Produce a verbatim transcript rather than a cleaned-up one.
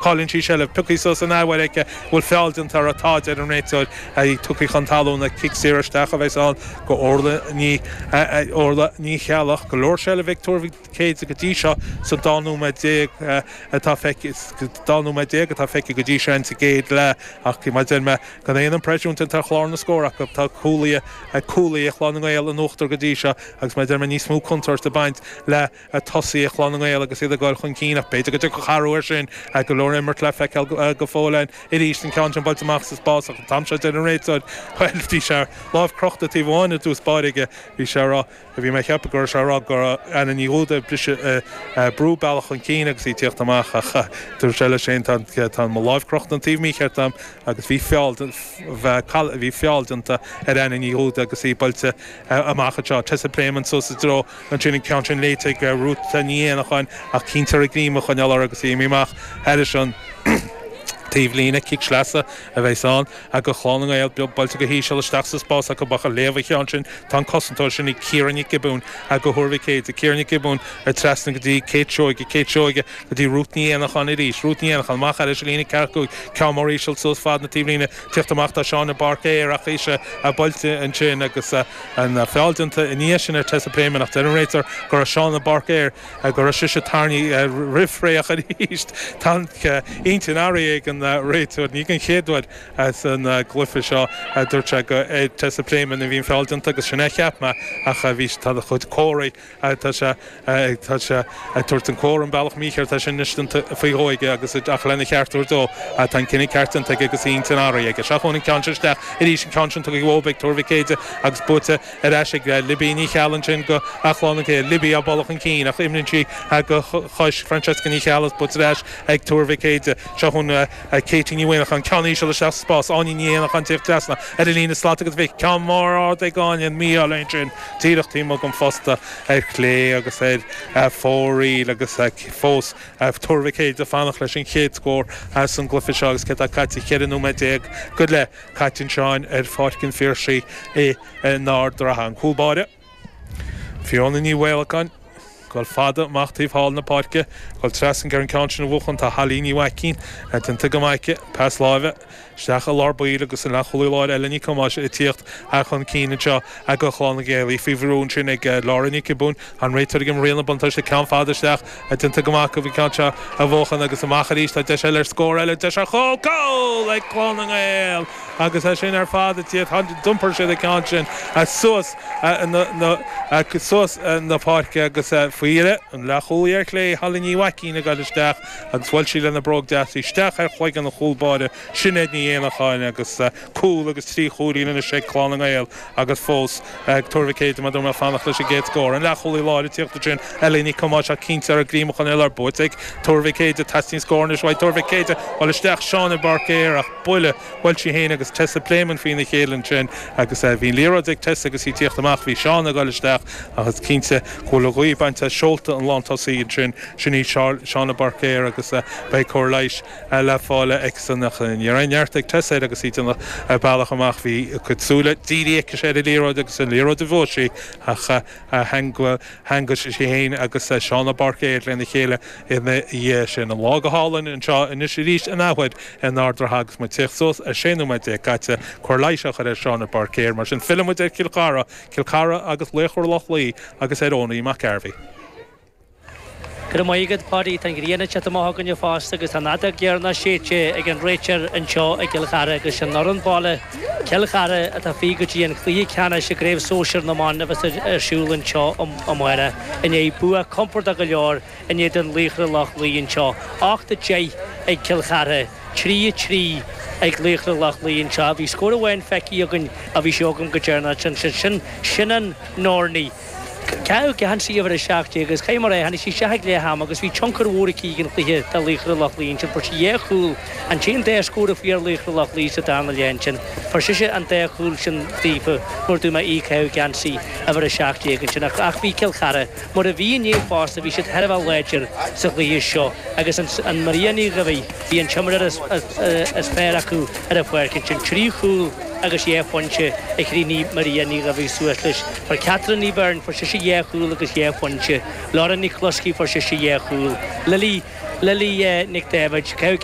Cailleann sí seilbh, pioctha suas an athuair aici, bhfuil feall déanta uirthi, tá, deir an réiteoir, í tugtha chun talún, cic saor isteach a bheas ann go Orla Ní Orla Ní Cheallaigh. Go leor seilbh ag Tuar Mhic Éide go dtí seo sa dá nóiméad déag atá feicthe dá nóiméad déag atá feicthe go dtí seo insa gcéad leath ach mar a deir mé gan aon impreisiún déanta ar chlár na scór acu tá cúlaithe cúlaithe Chlann na nGael in uachtar go dtí seo agus mar a deir mé níos mó contúirt ag baint le tosaithe Chlann na nGael agus iad ag dul chun cinn ach b'fhéidir go dtiocfadh athrú air sin. Go leor imirt le feiceáil go fóill ann arís. An ceann sin buailte amach sa spás ach an t-am seo deir an réiteoir, bhuel, bhí sé lámh crochta taobh amháin i dtús báire aige. Bhí sé a rá, bhí mé ag ceapadh go raibh sé a rá go raibh Anna Ní Dhúda ag briseadh, brú bealach chun cinn agus í ag tíocht amach ach dúirt sé leis féin, tá, tá mo láimh crochta an taobh mícheart agam agus bhí feall, bhí feall déanta ar Anna Ní Dhúda agus í buailte amach anseo. Tessa Pléimeann suas i dtreo ansin an ceann sin léite ag Ruth Ní Éanacháin ach cinnte uirthi greim a choinneáil air agus í imithe amach thairis an taobhlíne. Cic sleasa a bheas ann do Chlann na nGael. Buailte go híseal isteach sa spás acu ach ag léamh an cheann sin tá an cosantóir sin í Ciara Nic Giobúin do Thuar Mhic Éide. Ciara Nic Giobúin trasna go dtí Kate Seoige. Kate Seoige go dtí Ruth Ní Éanacháin arís. Ruth Ní Éanacháin amach thairis an líne ceathracha cúig. Ceann mór íseal suas fad na taobhlíne. Tíocht amach tá Shauna Barker ach ise buailte ansin agus an feall déanta i ndiaidh sin ar Tessa Pléimeann ach deir an réiteoir go raibh Shauna Barker go raibh sise tarraingthe roimh ré ach arís tá an intinn athraithe ag an réiteoir. Ní den chéad uair san gcluiche seo dúirt sé go ar Tessa Pléimeann a bhí an feall déanta agus sin é a cheap mé ach bhí tá a chuid comharthaí tá sé tá sé ag tabhairt an comhartha an bealach mícheart é sin anois déanta faoi dhó aige agus ach lena cheart a thabhairt dó tá an cinneadh ceart déanta aige agus a intinn athraithe aige. Seo chugainn an ceann seo isteach arís an ceann sin tugtha uathu ag Tuar Mhic Éide agus buaite ar ais ag Libby Ní Cheallaigh ansin do Chlann na nGael. Libby á bualadh chun cinn ach imríonn sí go chois Francesca Ní Cheallaigh is buaite ar ais ag Tuar Mhic Éide. Seo chugainn Katie Ní Mhuineacháin ceann íseal isteach sa spás. Áine Ní Éanacháin ag tíocht trasna ar an líne slat agus bhí ceann mór ard ag Áine an mí-ádh léi ansin díreach taobh amuigh den phosta ar chlé agus ar fóraoil agus fós Tuar Mhic Éide ag fanacht leis an chéad scór as an gcluiche seo agus cé tá caite ceithre nóiméad déag go leith caite anseo ar Pháirc an Phiarsaigh i nArd Ratha. An cúl báire, Fiona Ní Mhaolacháin, ag dul fada amach taobh thall na páirce, ag dul trasna ar an gceann sin a bhuachan tá Holly Ní Mhaicín déanta go maith aici, pas láimhe isteach i lár baill agus an leathchúlaí láir Ella Nic Thomáis ag tíocht chun cinn anseo do Chlann na nGael. Í faoi bhrú ansin ag Laura Nic Giobúin. An réiteoir ag imirt an buntáiste, ceann fada isteach déanta go maith acu an ceann seo a bhuachan agus amach arís tá deis eile ar scór eile, deis ar chúl, cúl ag Clann na nGael agus é sin ar fad ag tíocht, d'iompair siad an ceann sin suas na suas na páirce agus faoi dheireadh an leathchúlaí ar chlé, Holly Ní Mhaicín ag dul isteach agus bhuail sí lena bróg deas isteach ar chloigeann an chúl báire, Sinéad Ní Éanacháin agus cúl agus trí chúilín anois ag Clann na nGael agus fós ag Tuar Mhic Éide mar a dúirt mé ag fanacht leis an gcéad scór. An leathchúlaí láir ag tíocht ansin, Ellie Nic Thomáis ach cinnte uirthi greim a choinneáil air buaite ag Tuar Mhic Éide. Teastaíonn scór anois uaidh Tuar Mhic Éide. Bhuail isteach Shauna Barker ach buille, bhuail sí féin agus Tessa Pléimeann faoina chéile ansin agus bhí an liathróid ag Tessa agus í ag tíocht amach. Bhí Shauna ag dul isteach ach is cinnte go bhfuil an ghaoth bainte as seolta an lántosaí ansin, sin í Shauna Barker agus beidh cóir leighis le fáil aici-san ach ní raibh aon neart ag Tessa air agus í ag déanamh a bealach amach. Bhí a cuid súile dírithe aici ar an liathróid agus an liathróid a bhuaigh sí ach theangaigh sí féin agus Shauna Barker lena chéile ina dhiaidh sin. An lá go hálainn anseo anois arís in athuair in Ard Ratha agus muid ag tíocht suas ar sé nóiméad déag caite. Cóir leighis á chur ar Shauna Barker. Mar sin filleann muid ar Chill Chartha, Cill Chartha agus Laochra Loch Lao agus ar Owenie McGarvey. Go raibh maith agat, Páidí. Tá an ghrian ag teacht amach againne fosta agus tá an fheadóg dheireanach séidte ag an réiteoir anseo i gCill Chartha agus sin an fhoireann baile, Cill Chartha, atá fríd go dtí an cluiche ceannais i gCraobh Sóisir na mBan a bheas ar siúl anseo amárach i ndiaidh bua compordach go leor in éadan Laochra Loch Lao anseo. Ocht a deich ag Cill Chartha, trí a trí ag Laochra Loch Lao anseo. Bhí scór amháin feicthe againn a bhí sé agam go deireanach ansin. Sin an Norney. Caitheadh geansaí uimhir a seacht déag agus caithfidh mé a rá, tháinig sí isteach ag leath ama agus bhí tionchar mhór aici ag an chluiche do Laochra Loch Lao ansin. Fuair sí dhá chúl, an t-aon dá scór a fuair Laochra Loch Lao sa darna leath ansin. Fuair sise an dá chúl sin daofa nuair a dúirt mé í ag caitheamh geansaí uimhir a seacht déag ansin. Ach ach bhí Cill Chartha mar a bhí inné fosta, bhí siad thar a bheith láidir sa chluiche seo agus an Maria Ní Dhuibhigh, bhí an t-imreoir is fearr acu ar an pháirc ansin. Trí chúl agus dhá phointe a chríochnaigh Maria Ní Dhuibhigh suas leis. Fuair Catherine Ní Bheirn, fuair sise dhá chúl agus dhá phointe. Laura Nic Chluskey, fuair sise dhá chúl. Lily Lily Nic David. Caitheadh